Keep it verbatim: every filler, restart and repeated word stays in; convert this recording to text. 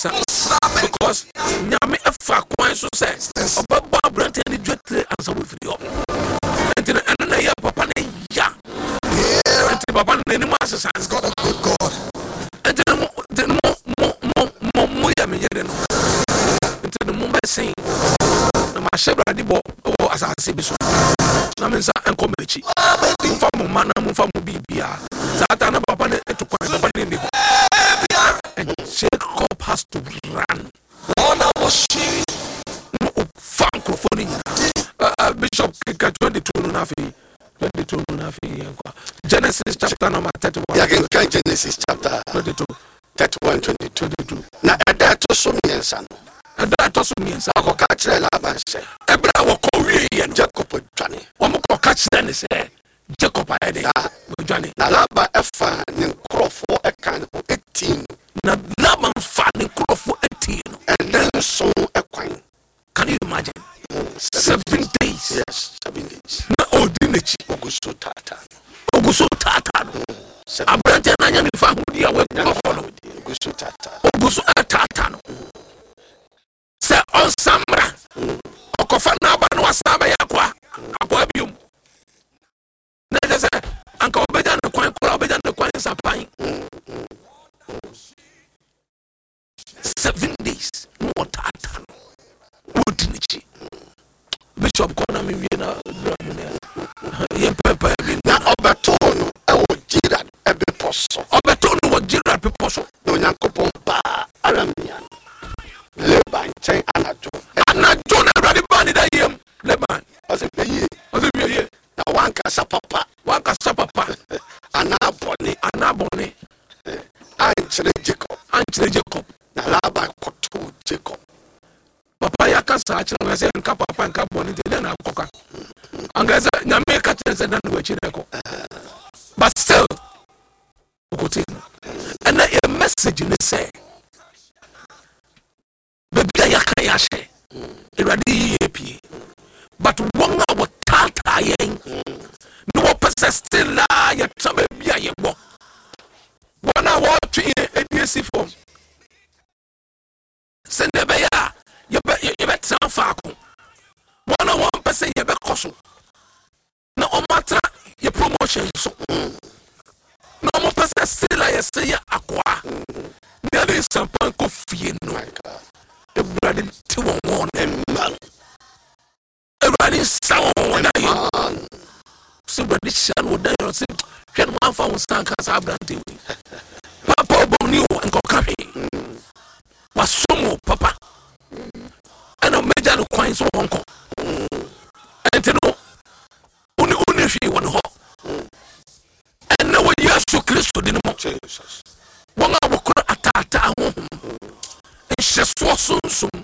asesa because Nyame ɛfa kwan so sɛ ɔbɛbɔ aberanteɛ no dwetire ansa wɔfiri hɔ. Nti no ɛno na ɛyɛ papa no ya, nti papa no n'anim asesa. He's got a good God. Nti no mo, nti no mo mo mo mo mo yɛ me yere no, nti no mo bɛsen na mahyɛ Awurade bɔ wɔ asase bi so na me nsa nkɔ m'akyi. Momfa mo mma na momfa mo biribiara. Saa ta na papa no etu kwan, papa no nni hɔ and Jacob has to run na ɔfa nkurɔfoɔ no nyinaa. Uh, uh, bishop keka twenty-two no, na afei twenty-two no, na afei yɛnkɔ Genesis chapter number thirty-one. Yɛkenkan Genesis chapter twenty-two. thirty-one twenty-two. twenty-two. Na ɛda ɛto so mmiɛnsa no, ɛda ɛtɔ so mmiɛnsa, akɔka kyerɛ Laban sɛ ɛberɛ a wɔkɔ wieɛ no, Jacob adwane. Wɔn kɔka kyerɛ ne sɛ Jacob ayɛ de wɔdwane. Na Laban ɛfa ne nkurɔfoɔ ɛka ne ho ɛtii no. Na Laban fa ne nkurɔfoɔ atii no. Ɛnɛ nson ɛkwan. Can you imagine? Seven days. Yes, seven days. Na ɔdi n'akyi. Ogu so taataa. Ogu so taataa no. Seven. Aberanteɛ no anya ne fa ahodi a wɔakɔ no. Ogu so taataa. Ogu so ataataa no sɛ ɔnsa mmra, ɔkɔfa n'aba no, wasan bɛyɛ akoa akoa biom. Na ɛkyɛ sɛ anka ɔbɛgya ne kwan koraa, ɔbɛgya ne kwan nsapan. Seven days na wɔtaataa no, wɔdi n'akyi. Bishop, kɔ na mewie na dura mu ne yɛ mpɛmpɛ bi. Na ɔbɛtoo no ɛwɔ Gilead ɛbepɔ so. Ɔbɛtoo no wɔ Gilead bepɔ so. Na Onyankopɔn baa Aramea no Laban nkyɛn anadwo. Anadwo na Awurade baa ne da yam Laban. Ɔsɛ, "Hwɛ yie." Ɔsɛ, "Hwɛ yie." Na wankasa papa wankasa papa anaa bɔne anaa bɔne ankyerɛ Jacob. Ankyerɛ Jacob. Na Laban kɔtoo Jacob. Papa, yɛaka saa kyerɛ me sɛ nka papa nka bɔne, nti dɛn na akɔka anka sɛ Nyame ka kyerɛ sɛ da ne wakyi na ɛkɔ, but still ɔkɔtie no. Ɛnɛ yɛ message ne sɛ baabi a yɛaka yɛ ahyɛ, Awurade yi yɛ pie, but wɔn a wɔtaataa yɛn na wɔpɛ sɛ still a yɛtra baabi a yɛwɔ, wɔn a wɔretwe yɛn adi asi fam sɛnea ɛbɛyɛ a yɛbɛ- yɛ- yɛbɛtena faako, wɔn a wɔmpɛ sɛ yɛbɛkɔ so na wɔn atena yɛ promotion so na wɔn pɛ sɛ still a yɛsɛ yɛ akoa na yɛde nsampan kɔ fie no, My God. Awurade te wɔn wɔn. Amen. Awurade nsa wɔn wɔn ayɛ Amen. Sɛ Awurade hyia no wɔ dan yɛn sɛ hwɛ no, wɔamfa wo nsa nka saa aberante wei papa ɔbɔne o, nkɔka hwee, wasom wo papa, ɛna mɛgya no kwan sɛ wɔnkɔ. Ɛnti no wone wone hwee wɔ ne hɔ. Ɛnɛ wɔ Yesu Kristo de no mu, Jesus. wɔn a wɔkora ataataa honhom nhyɛsoɔ sunsum